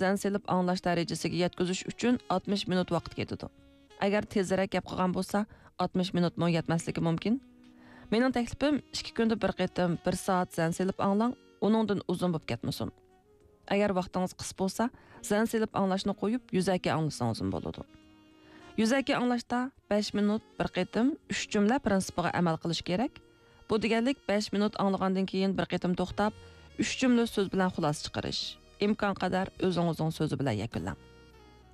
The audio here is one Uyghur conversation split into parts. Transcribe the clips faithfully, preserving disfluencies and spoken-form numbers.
زەن سېلىپ ئاڭلاش دەرىجىسىگە يەتكۈزۈش ئۈچۈن ئاتمىش مىنۇت ۋاقىت كېتىدۇ. ئەگەر تېزرەك گەپ قىلغان بولسا، ئاتمىش مىنۇتمۇ يەتمەسلىكى مۇمكىن. مېنىڭ تەكلىپىم، ئىككى كۈندە بىر قېتىم بىر سائەت زەن سېلىپ ئاڭلاڭ، ئۇنىڭدىن ئۇزۇن بولۇپ كەتمىسۇن. ئەگەر ۋاقتىڭىز قىس بولسا، زەن سېلىپ ئاڭلاشنى قويۇپ، يۈزەكى ئاڭلىسىڭىزمۇ بولىدۇ. يۈزەكى ئاڭلاشتا بەش مىنۇت بىر قېتىم ئۈچ جۈملە پىرىنسىپىغا ئەمەل قىلىش كېرەك. بۇ دېگەنلىك، بەش مىنۇت ئاڭلىغاندىن كېيىن بىر قېتىم توختاپ، ئۈچ جۈملە سۆز بىلەن خۇلاسە چىقىرىش. ئىمكانقەدەر ئۆزىڭىزنىڭ سۆزى بىلەن يەكۈنلەڭ.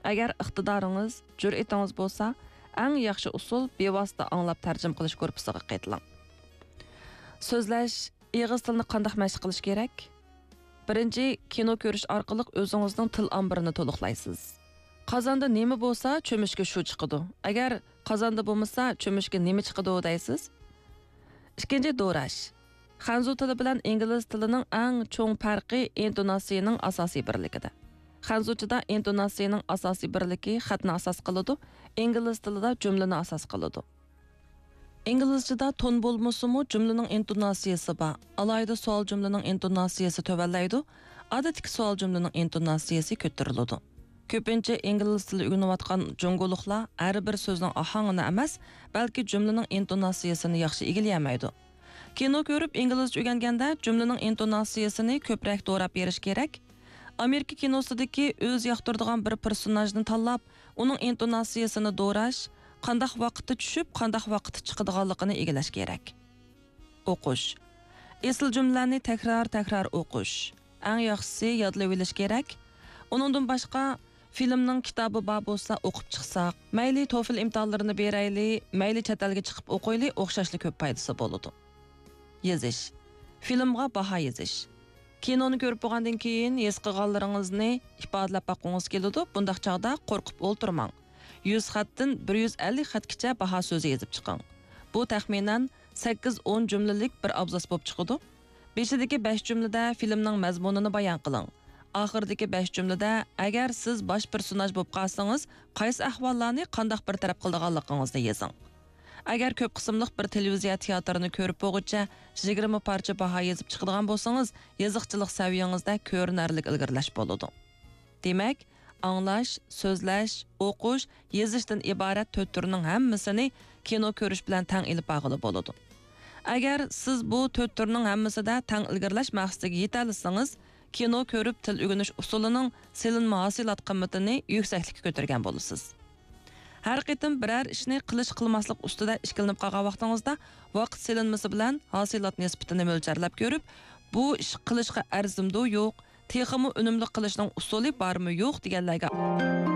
ئەگەر ئىقتىدارىڭىز، جۈرئىتىڭىز بولسا، ئەڭ ياخشى ئۇسۇل بىۋاسىتە ئاڭلاپ تەرجىمە قىلىش گۇرۇپپىسىغا قېتىلىڭ. سۆزلەش، ئېغىز تىلنى قانداق مەشىق قىلىش كېرەك؟ بىرىنچى، كىنو كۆرۈش ئارقىلىق ئۆزىڭىزنىڭ تىل ئامبىرىنى تولۇقلايسىز. قازاندا نېمە بولسا، چۆمۈچكە شۇ چىقىدۇ. ئەگەر قازاندا بولمىسا، چۆمۈچكە نېمە چىقىدۇ دەيسىز؟ ئىككىنچى، دوراش. خەنزۇ تىلى بىلەن ئىنگلىز تىلىنىڭ ئەڭ چوڭ پەرقى ئىنتوناتسىيىنىڭ ئاساسىي بىرلىكىدە. خەنزۇچىدا ئىنتوناتسىيىنىڭ ئاساسىي بىرلىكى خەتنى ئاساس قىلىدۇ، ئىنگلىز تىلىدا جۈملىنى ئاساس قىلىدۇ. ئىنگلىزچىدا تون بولمىسىمۇ، جۈملىنىڭ ئىنتوناتسىيىسى بار. ئالاھىدە سوئال جۈملىنىڭ ئىنتوناتسىيىسى تۆۋەنلەيدۇ، ئادەتتىكى سوئال جۈملىنىڭ ئىنتوناتسىيىسى كۆتۈرۈلىدۇ. كۆپىنچە ئىنگلىز تىلى ئۆگىنىۋاتقان جۇڭگولۇقلار ھەر بىر سۆزنىڭ ئاھاڭىنى ئەمەس، بەلكى جۈملىنىڭ ئىنتوناتسىيىسىنى ياخشى ئىگىلىيەلمەيدۇ. كىنو كۆرۈپ ئىنگلىزچە ئۆگەنگەندە جۈملىنىڭ ئىنتوناتسىيىسىنى كۆپرەك دوراپ بېرىش كېرەك. ئامېرىكا كىنوسىدىكى ئۆزى ياقتۇرىدىغان بىر پېرسوناژنى تاللاپ، ئۇنىڭ ئىنتوناتسىيىسىنى دوراش، قانداق ۋاقىتتا چۈشۈپ، قانداق ۋاقىتتا چىقىدىغانلىقىنى ئىگىلەش كېرەك. ئوقۇش. ئېسىل جۈملىلەرنى تەكرار-تەكرار ئوقۇش. ئەڭ ياخشىسى يادلىۋېلىش كېرەك. ئۇنىڭدىن باشقا، فىلىمنىڭ كىتابى بار بولسا ئوقۇپ چىقساق، مەيلى توفىل ئىمتىھانلىرىنى بېرەيلى، مەيلى چەت ئەلگە چىقىپ ئوقۇيلى، ئوخشاشلا كۆپ پايدىسى بولىدۇ. يېزىش. فىلىمغا باھا يېزىش. كىنونى كۆرۈپ بولغاندىن كېيىن ھېس قىلغانلىرىڭىزنى ئىپادىلەپ باققۇڭىز كېلىدۇ، بۇنداق چاغدا قورقۇپ ئولتۇرماڭ. يۈز خەتتىن بىر يۈز ئەللىك خەتكىچە باھا سۆزى يېزىپ چىقىڭ. بۇ تەخمىنەن سەككىز ئون جۈملىلىك بىر ئابزاس بولۇپ چىقىدۇ. بېشىدىكى بەش جۈملىدە فىلىمنىڭ مەزمۇنىنى بايان قىلىڭ. ئاخىرىدىكى بەش جۈملىدە، ئەگەر سىز باش پېرسوناژ بولۇپ قالسىڭىز، قايسى ئەھۋاللارنى قانداق بىر تەرەپ قىلىدىغانلىقىڭىزنى يېزىڭ. ئەگەر كۆپ قىسىملىق بىر تېلېۋىزىيە تىياتىرىنى كۆرۈپ بولغۇچە يىگىرمە پارچە باھا يېزىپ چىقىدىغان بولسىڭىز، يېزىقچىلىق سەۋىيەڭىزدە كۆرۈنەرلىك ئىلگىرىلەش بولىدۇ. دېمەك، ئاڭلاش، سۆزلەش، ئوقۇش، يېزىشتىن ئىبارەت تۆت تۈرنىڭ ھەممىسىنى كىنو كۆرۈش بىلەن تەڭ ئېلىپ بارغىلى بولىدۇ. ئەگەر سىز بۇ تۆت تۈرنىڭ ھەممىسىدە تەڭ ئىلگىرىلەش مەقسىتىگە يېتەلىسىڭىز، كىنو كۆرۈپ تىل ئۆگىنىش ئۇسۇلىنىڭ سېلىنما ھاسىلات قىممىتىنى يۈكسەكلىككە كۆتۈرگەن بولىسىز. ھەر قېتىم بىرەر ئىشنى قىلىش-قىلماسلىق ئۈستىدە ئىككىلىنىپ قالغان ۋاقتىڭىزدا، ۋاقىت سېلىنمىسى بىلەن ھاسىلات نىسبىتىنى مۆلچەرلەپ كۆرۈپ، بۇ ئىش قىلىشقا ئەرزىمدۇ، يوق، تېخىمۇ ئۈنۈملۈك قىلىشنىڭ ئۇسۇلى بارمۇ، يوق دېگەنلەرگە